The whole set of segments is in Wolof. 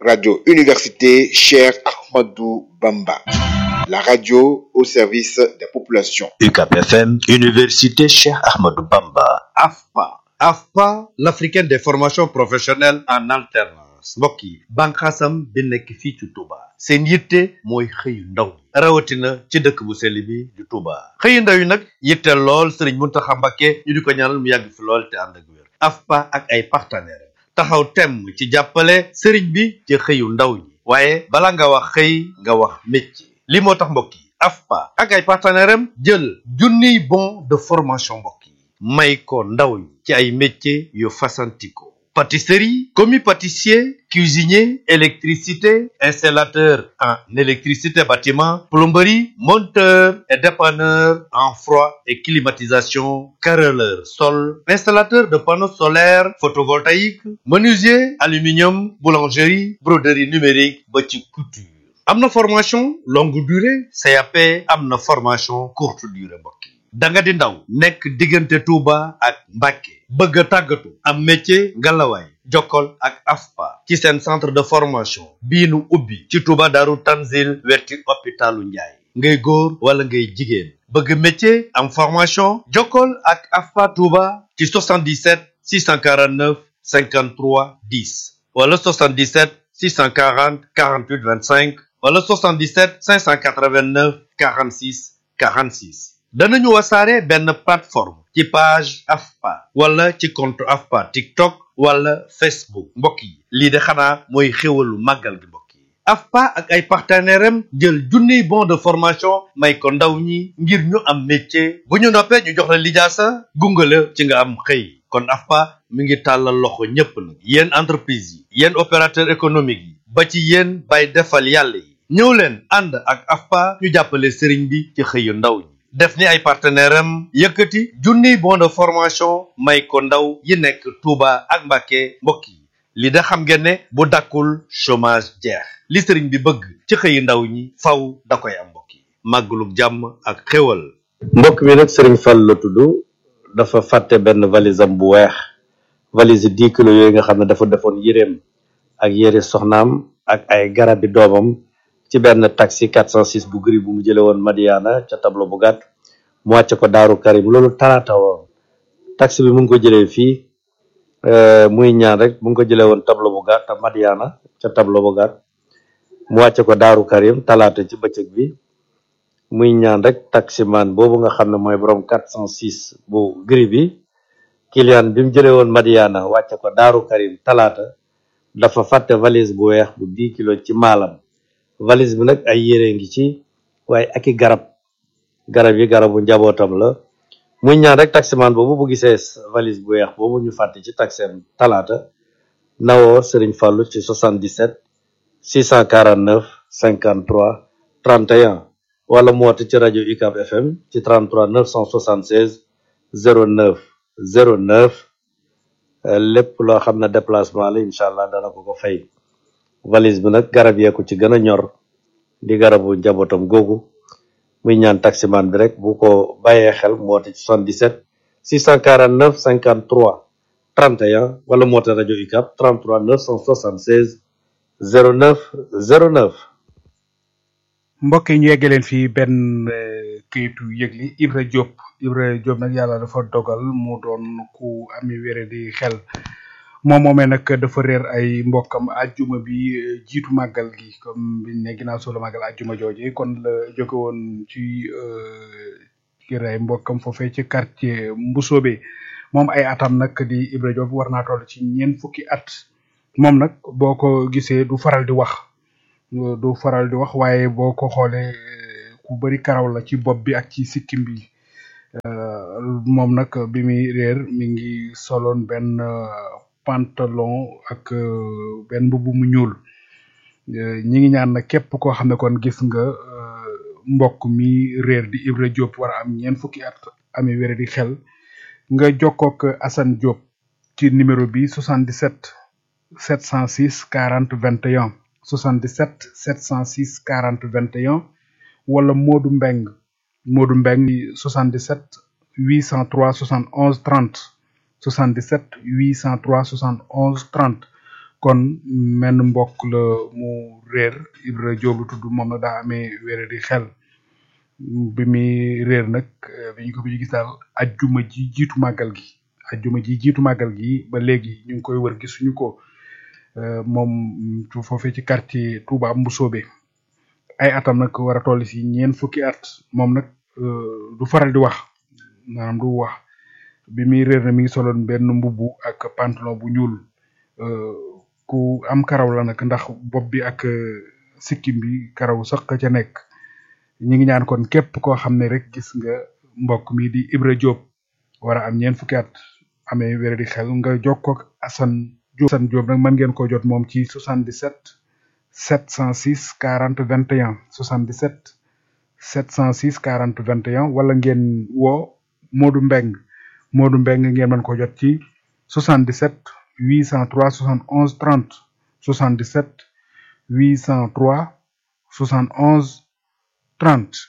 Radio Université Cheikh Ahmadou Bamba. La radio au service des populations. UCAP FM, Université Cheikh Ahmadou Bamba. AFPA, l'Africaine des formations professionnelles en alternance. mbokk yi bànqaasam bi nekk fii ci Touba seen yitte mooy xëyu ndaw rawatina ci dëkk bu sell bi di Touba xëyu ndaw yi nag yitte lool Serigne Mountakha Mbacké ñu di ko ñaanal mu yàgg fi lool te ànd ak wér. AFPA ak ay partenaires taxaw temm ci jàppale Serigne bi ci xëyu ndaw ñi waaye bala nga wax xëy nga wax métier li moo tax mbokk yi AFPA ak ay partenaires am jël junniy bon de formation mbokk yi may ko ndaw ñi ci ay métiers yu fasantikoo pâtisserie, commis pâtissier, cuisinier, électricité, installateur en électricité bâtiment, plomberie, monteur et dépanneur en froid et climatisation, carreleur sol, installateur de panneaux solaires photovoltaïques, menuisier, aluminium, boulangerie, broderie numérique, ba ci couture. am na formation longue durée CAP am na formation courte durée mbokk yi da nga di ndaw nekk diggante Touba ak Mbacké bëgg a tàggatu am métier ngalawaay jokkol ak AFPA ci seen centre de formation bii nu ubbi ci Touba Daaru Tanzil wetti hôpitalu Njaay ngay góor wala ngay jigéen bëgg métier am formation jokkol ak AFPA Touba ci 77 649 53 10 wala 77 640 48 25 wala 77 589 46 46 danañu wasaare benn plateforme ci page AFPA wala ci compte AFPA TikTok wala Facebook mbokk yi lii de xanaa mooy xéwalu màggal gi mbokk yi AFPA ak ay partenaires am jël junniy bon de formation may ko ndaw ñi ngir ñu am métier bu ñu noppee ñu jox la lijaasa gungale ci nga am xëy kon AFPA mi ngi tàllal loxo ñépp nag yéen entreprise yi yéen opérateur économique yi ba ci yéen bay defal yàlla yi ñëw leen ànd ak AFPA ñu jàppale sëriñ bi ci xëyu ndaw ñi def ni ay partenaires am yëkkati junniy bon de formation may ko ndaw yi nekk Touba ak Mbacké mbokk yi li da xam ngeen ne bu dakkul chômage jeex li sëriñ bi bëgg ci xëyu ndaw ñi faw da koy am mbokk yi màggalug jàmm ak xéwal. mbokk mi nag Serigne Fall la tudd dafa fàtte benn valise am bu weex valise 10 kilos yooyu nga xam ne dafa defoon yéreem ak yére soxnaam ak ay garabi doomam ci benn taxi 406 bu gris bu mu jële woon Madiana ca tableau bu gàtt mu wàcce ko Daaru Karim loolu talaata woon taxi bi mu ngi ko jëlee fii muy ñaan rek mu ngi ko jëlee woon tableau bu gàtt Madiana ca tableau bu gàtt mu wàcce ko Daaru Karim talaata ci bëccëg bi muy ñaan rek taximan boobu nga xam ne mooy borom 406 bu gris bi client bi mu jëlee woon Madiana wàcce ko Daaru Karim talaata dafa fàtte valise bu weex bu 10 kilos ci maalam valise bi nag ay yére ngi ci waaye ak i garab yi garabu njabootam la muy ñaan rek taximan boobu bu gisee valise bu weex boobu ñu fàtte ci taxem talaata nawoo Serigne Fallou ci 77 649 53 31 wala mu woote ci rajo UCAB FM ci 33 976 09 09 lépp loo xam ne déplacement la incha allah dana ko fay valise bi nag garab yee ko ci gën a ñor di garabu njabootam googu muy ñaan taximan bi rek bu ko bàyyee xel mu woote ci 77 649 53 31 wala mu woote rajo UCAB 33 976 09 09. mbokk yi ñu yegge leen fii benn kayitu yëgli Ibra Diop nag yàlla dafa dogal mu doon ku ami wére di xel moom moomee nag dafa réer ay mbokkam ajjuma bi jiitu màggal gi comme biñ ne ginnaaw solo màggal ajjuma jooje kon la jóge woon ci kër ay mbokkam foofee ci quartier Mbusoobe moom ay atam nag di Ibra Diop war naa toll ci 4 fukki at moom nag boo ko gisee du faral di wax waaye boo ko xoolee ku bari karaw la ci bopp bi ak ci sikkim bi moom nag bi muy réer mi ngi soloon benn pantalon ak benn mbubb mu ñuul ñi ngi ñaan nag képp koo xam ne kon gis nga mbokk mi réer di Ibra Diop war a am 4 fukki at amee wére di xel nga jokkook Assane Diop ci numéro bi 77 706 40 21 77 706 40 21 wala Modou Mbeng 77 803 71 30 77 803 71 30 kon menn mbokk la mu réer Ibra Diop lu tudd moom nag daa amee wére di xel bi muy réer nag bi ñu ko bi gis daal ajjuma ji jiitu màggal gi ba léegi ñu ngi koy wër gisuñu ko moom foofee ci quartier Touba Mbusoobe ay atam nag war a toll si ñeent fukki at moom nag du faral di wax maanaam du wax bi muy réer na mi ngi soloon benn mbubbu ak pantalon bu ñuul ku am karaw la nag ndax bopp bi ak sikkim bi karaw sax ca nekk ñi ngi ñaan kon képp koo xam ne rek gis nga mbokk mi di Ibra Diop war a am ñeent fukki at amee wér di xel nga jokkoo ak Assane Diop nag mën ngeen ko jot moom ci 77 706 40 21 77 706 40 21 wala ngeen woo Modou Mbeng ngeen mën ko jot ci 77 803 71 30 77 803 71 30.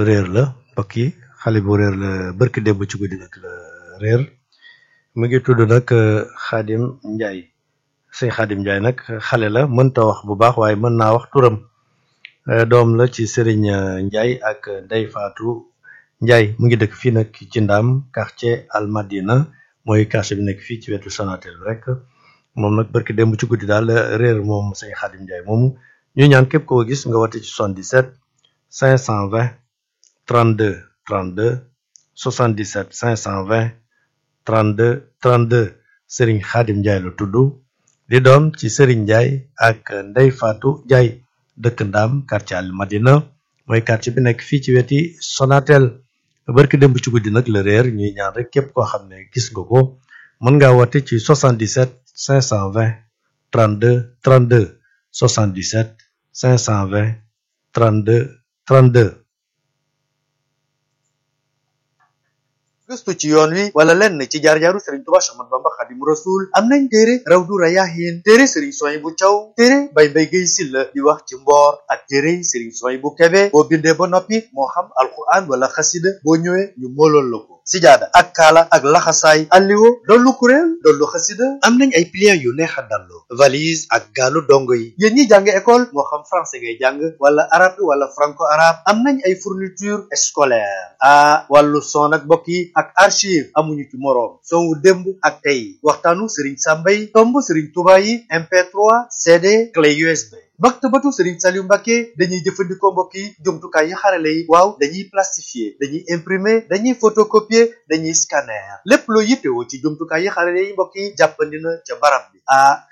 réer la mbokk yi xale bu réer la barki démb ci guddi nag la réer mu ngi tudd nag Xaadim Njaay sëñ Xaadim Njaay nag xale la mënta wax bu baax waaye mën naa wax turam doom la ci Sëriñ Njaay ak Ndey Faatu Njaay mu ngi dëkk fii nag ci Ndaam quartier Almadina mooy quartier bi nekk fii ci wetu Sonatel rek moom nag barki démb ci guddi daal réer moom sëñ Xaadim Njaay moomu ñu ñaan képp koo gis nga wate ci 77 520 32 32 77 520 32 32 Serigne Khadim Ndiaye la tudd di doom ci Serigne Ndiaye ak Ndey Fatou Ndiaye dëkk Ndaam quartier Al Madina mooy quartier bi nekk fii ci weti Sonatel barki démb ci guddi nag la réer ñuy ñaan rek képp koo xam ne gis nga ko mën ngaa wate ci 77 520 32 32 77 520 32 32. gëstu ci yoon wi wala lenn ci jaar-jaaru Serigne Touba Cheikh Ahmadou Bamba Khadimu Rasul am nañ téere Rawdu Rayaahin téere Serigne Souhaïbou Thiaw téere Baye Mbaye Guèye Sylla di wax ci mboor ak téere Serigne Souhaïbou Kébé boo bindee ba noppi moo xam alquran wala xasida boo ñëwee ñu moolool la ko sijaada ak kaala ak laxasaay alliwo dollu kuréel dollu xasida am nañ ay pliants yu neex a dallu valise ak gaalu dongo yi yéen ñi jàng école moo xam français ngay jàng wala arabe wala franco arabe am nañ ay fourniture scolaire wàllu son ak mbokk yi ak archive amuñu ci moroom son wu démb ak tey waxtaanu Serigne Sambay tomb Serigne Touba yi MP3 CD clé USB maktabatu Serigne Saliou Mbacké dañuy jëfandikoo mbokk yi jumtukaay yi xarale yi waaw dañuy plastifier dañuy imprimer dañuy photocopier dañuy scanner lépp loo yittewoo ci jumtukaay yi xarale yi mbokk yi jàppandi na ca barab bi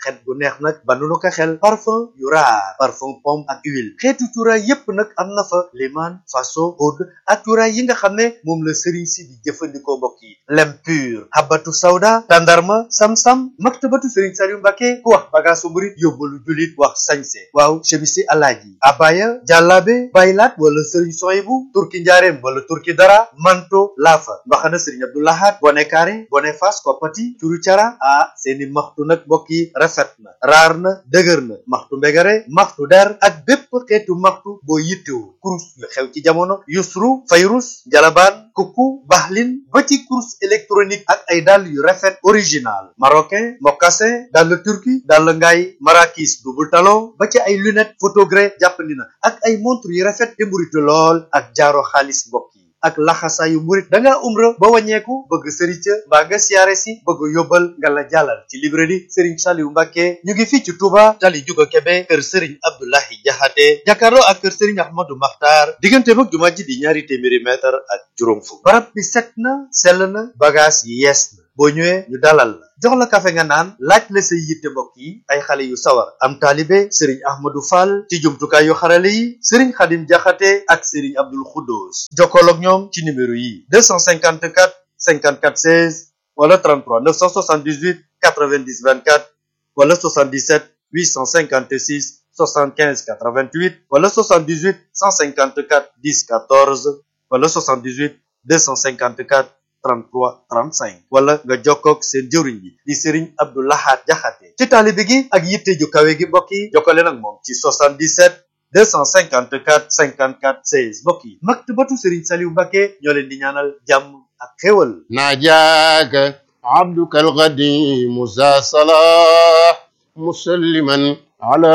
xet gu neex nag banu ko xel parfum yu raar parfum pomme ak huile xeetu cuuraay yépp nag am na fa liman faso oud ak cuuraay yi nga xam ne moom la Serigne si di jëfandikoo mbokk yi lem pur habatu sawda tandarma sam-sam maktabatu Serigne Saliou Mbacké ku wax bagaasu murit yóbbalu julit wax sañse waaw chemisi alaaji abaya jàllaabe baylaat wala Serigne Souhaïbou turki njaareem wala turki dara manto laafa mbaxana Serigne Abdou Lahad bone carré bone fas koppati curu cara seeni maxtu nag mbokk yi rafet na raar na dëgër na maxtu mbegare maxtu der ak bépp xeetu maxtu boo yittewu kurus yu xew ci jamono yusru fayrus jalabaan kuku baxlin ba ci kurus électronique ak ay dàll yu rafet original marocain mocassin dàll turki dàll ngaay marakis double talon ba ci ay lunette photogré jàppandi na ak ay montre yu rafet te mburitu lool ak jaaro xaalis mbokk yi ak laxasaayu murit da ngaa umra ba wàññeeku bëgg sëriñ ca mbaa nga siyaare si bëgg yóbbal nga la jàllal ci librairie Serigne Saliou Mbacké ñu ngi fii ci Touba tali juga Kébé kër Serigne Abdoulahi Jaxate jàkkaarloo ak kër Serigne Ahmadou Makhtar diggante mag jumaa ji di 200 mètre ak juróom fukk barab bi set na sell na bagage yi yees na boo ñëwee ñu dalal la jox la kafe nga naan laaj la say yitte mbokk yi ay xale yu sawar am taalibe Serigne Ahmadou Fall ci jumtukaay yu xarale yi Serigne Khadim Jaxate ak Serigne Abdoul Khoudous jokkool ak ñoom ci numéro yi 254 54 16 wala 33 978 90 24 wala 77 856 75 88 wala 78 154 10 14 wala 78 254 33 35 wala nga jokkoog seen jëwriñ bi di Serigne Abdou Lahad Jaxate ci taalibe gi ak yitte ju kawe gi mbokk yi jokkale nag moom ci 77 254 54 16 mbokk yi maktabatu Serigne Saliou Mbacké ñoo leen di ñaanal jàmm ak xéwal ناجاك عبدك القديم ذا صلاح مسلما على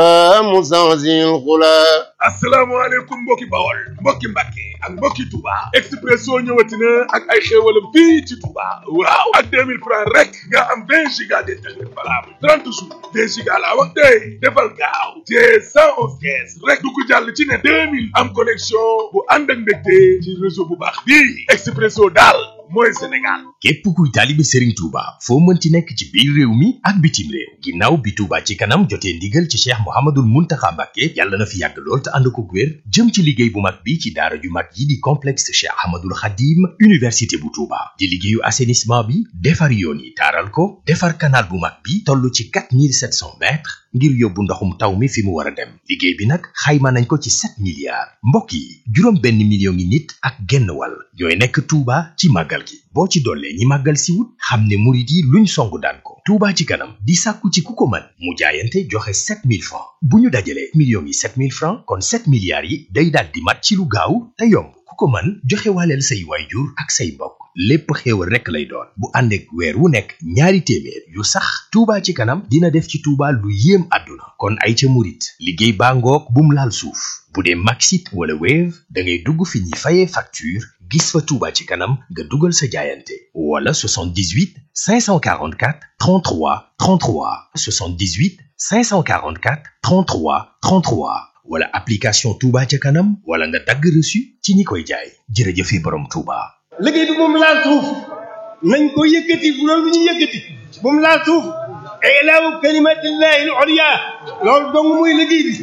مزازي الغلا. asalaamaaleykum mbokki Bawol mbokki Mbàkke ak mbokki Touba Expresso ñëwati na ak ay xéewalam fii ci Touba waaw ak 2000 francs rek nga am 20 giga d'internet valable 30 jours 20 giga laa wax tey defal gaaw te 111 kees rek du ko jàll ci ne 2000 am connexion bu ànd ak mbégte ci réseau bu baax bii Expresso daal mooy Sénégal. képp kuy taalibe Serigne Touba foo mënti nekk ci biir réew mi ak bitim réew ginnaaw bi Touba ci kanam jotee ndigal ci Cheikh Mouhamadoul Mountakha Mbacké yàlla na fi yàgg lool te ànd ko wér jëm ci liggéey bu mag bi ci daara ju mag yi di complexe Cheikh Ahmadoul Khadim université bu Touba di liggéeyu assainissement bi defar yoon yi taaral ko defar canal bu mag bi toll ci 4700 mètres ngir yóbbu ndoxum taw mi fi mu war a dem liggéey bi nag xayma nañ ko ci 7 milliards mbokk yi juróom benn million ngi nit ak genn wàll ñooy nekk Touba ci màggal gi boo ci dollee ñi màggal si wut xam ne murit yi luñ songu daan ko Touba ci kanam di sàkku ci ku ko mën mu jaayante joxe 7000 francs bu ñu dajalee millions yi 7000 francs kon 7 milliards yi day daal di mat ci lu gaaw te yomb ku ko mën joxe waaleel say waajur ak say mbokk lépp xéewal rekk lay doon bu ànd ak weer wu nekk ñaari téeméer yu sax Touba ci kanam dina def ci Touba lu yéem àdduna kon ay ca murit liggéey baa ngoog bum laal suuf bu dee Maxit wala Wave da ngay dugg fi ñuy fayee facture gis fa Touba ci kanam nga dugal sa jaayante wala 78 544 33 33 78 544 33 33 wala application Touba ca kanam wala nga dagg reçu ci ñi koy jaay jërëjëfe borom Touba. liggéey bi moom laal suuf nañ ko yëkkati bu loolu ñu yëkkati moom laal suuf ilaahu kalimatillahi al-ulya loolu dong muy liggéey bi